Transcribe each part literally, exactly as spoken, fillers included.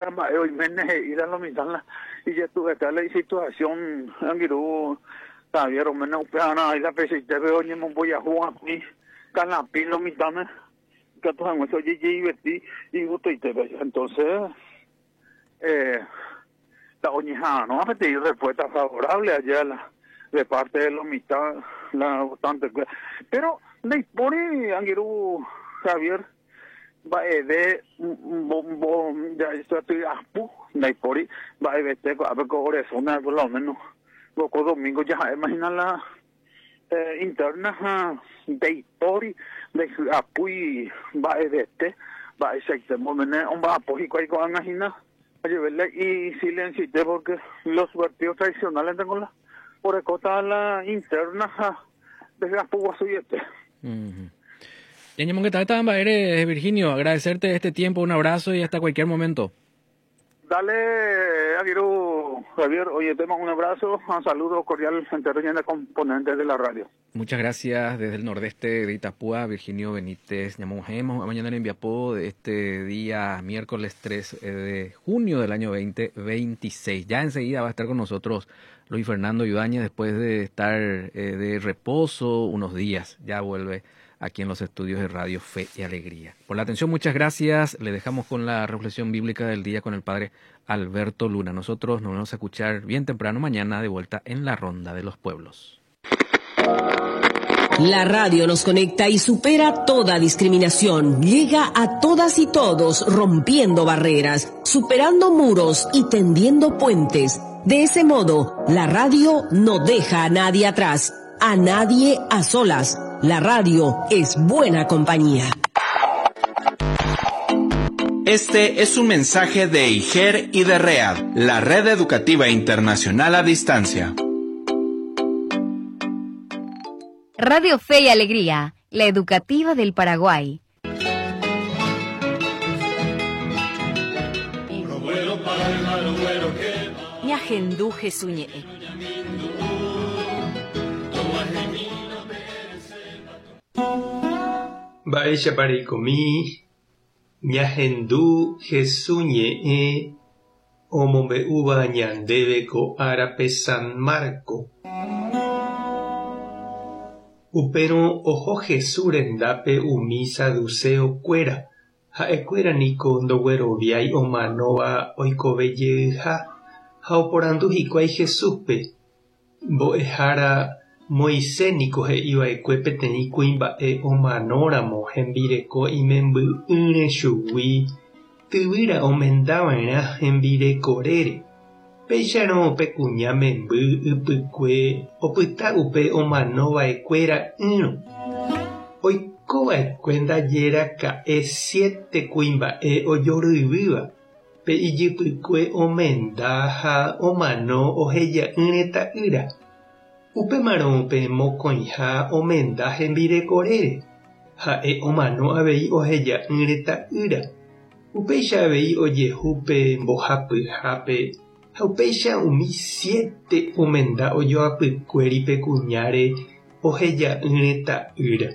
Mba'e oiméne he'íra lo mitã la ijetu'uete la isituación angirũ Javier oméne upearã la peichaitépe oñemombojahu akũi kalapi lo mitãme ikatu hag̃uáicha ojejeiveti igustoitépe. Entonces eh, la oñeha'arõ peteĩ respuesta favorable allá la de parte de lo mitã la votante. Pero ndaipóri angirũ Javier mba'eve mbo apu ndaipóri mba'evete ko'ápe ko ore zona por lo menos ko domingo jaha'éma hína la eh, interna ha ndaipóri ndaihy'apúi mba'evete mba'eichaite momene omba'apo hikuái ko'ág̃a hína ajevele y silencioite porque los partidos tradicionales tengo la orekóta la interna ha ndaihy'apu guasuiete. Ñañemongeta mba'ére, Virginio, agradecerte este tiempo, un abrazo y hasta cualquier momento. Dale, angirũ Javier, oye, te mando un abrazo, un saludo cordial entero de componentes de la radio. Muchas gracias desde el nordeste de Itapúa, Virginio Benítez. Ñamojemos mañana en Viapó de este día miércoles tres de junio del año dos mil veintiséis. Ya enseguida va a estar con nosotros Luis Fernando Ibáñez después de estar eh, de reposo unos días. Ya vuelve aquí en los estudios de Radio Fe y Alegría. Por la atención, muchas gracias. Le dejamos con la reflexión bíblica del día con el padre Alberto Luna. Nosotros nos vamos a escuchar bien temprano mañana de vuelta en la Ronda de los Pueblos. La radio nos conecta y supera toda discriminación. Llega a todas y todos, rompiendo barreras, superando muros y tendiendo puentes. De ese modo, la radio no deja a nadie atrás, a nadie a solas. La radio es buena compañía. Este es un mensaje de I G E R y de READ, la Red Educativa Internacional a Distancia. Radio Fe y Alegría, la educativa del Paraguay. Ñahendu Jesús ñe'ẽ. Mba'éichapa reikomi ñahendu Jesús ñe'ẽ omombe'úva ñandéve ko árape San Marco. Upérõ oho Jesús rendápe umi saduceokuéra, ha'ekuéra niko ndogueroviái omanóva oikovejeyha ha oporandu hikuái Jesúspe. Mbo'ehára, Moisés niko he'iva'ekue peteĩ kuimba'e omanóramo hembireko imemby'ỹre chugui tyvýra omendava'erã hembirekorére. Péicharõ pe kuña memby ypykue opyta upe omanova'ekuéra'ỹrõ. Oikova'ekue ndajeraka'e siete kuimba'e ojoryvýva, pe ijypykue omenda ha omano oheja'ỹre ta'ýra. Upémarõ pe mokõiha omenda hembirekorére, ha'e omano avei oheja'ỹre ta'ýra. Upéicha avei ojehu pe mbohapyhápe ha upéicha umi siete omenda ojoapykuéri pe kuñáre oheja'ỹre ta'ýra.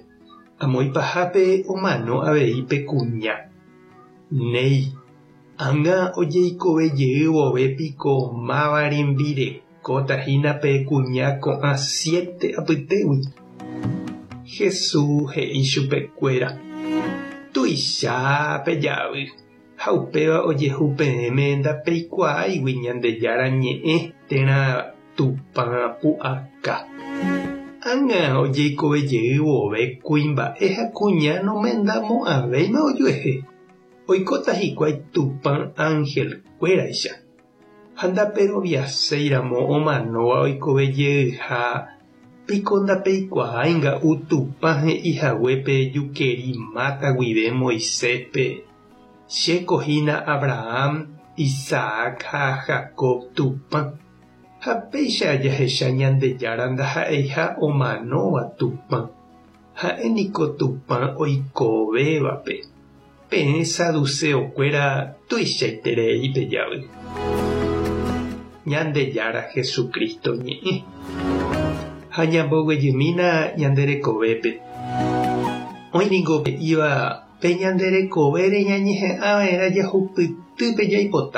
Amo ipahápe omano avei pe kuña. Néi, ág̃a ojeikovejey vove piko máva rembirekóta hína pe kuña ko'ã siete apytégui. Jesús he'i chupekuéra: Tuicha pejavy ha upéva ojehu peẽme ndapeikuaáigui Ñandejára ñe'ẽ térã Tupã pu'aka. Ág̃a ojeikovejey vove kuimba'e ha kuña nomendamo'ãvéima ojuehe. Oikóta hikuái Tupã angelkuéraicha. Ha ndaperoviaséiramo omanóva oikovejeyha piko ndapeikuaáinga'u Tupã he'ihaguépe jukeri máta guive Moiséspe: Chéko hína Abraham, Isaac ha Jacob Tupã. Ha péicha jahecha Ñandejára ndaha'eiha omanóva Tupã. Ha'e niko Tupã oikovévape. Peẽ saduceokuéra tuichaiterei pejavy. Ñandejára Jesucristo ñe'ẽ. Ha ñamboguejymína ñande rekovépe. Oĩ niko he'íva Pe ñande rekovére ñañeha'ãva'erã jahupytýpe jaipotáva.